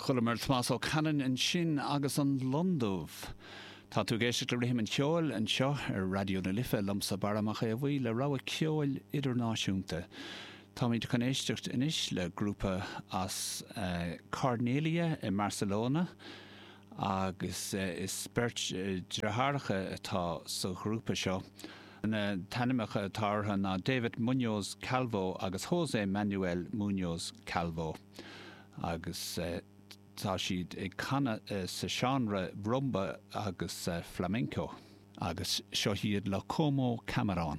Chualamar Tomás Ó Canainn ansin agus an Lon Dubh. Tá tú ag éisteacht le Rithim an Cheoil anseo ar Raidió na Life liomsa Barra Mac Aodha Bhuí le rogha ceoil idirnáisiúnta. Táimid chun éisteacht anois le grúpa as Cornellà i mBarcelona agus is beirt deartháireacha atá sa ghrúpa seo. Na t-ainmneacha atá orthu ná David Muñoz Calvo agus José Manuel Muñoz Calvo. Agus tá siad ag canadh sa seánra rumba agus flamenco. Agus seo iad le Como Camarón.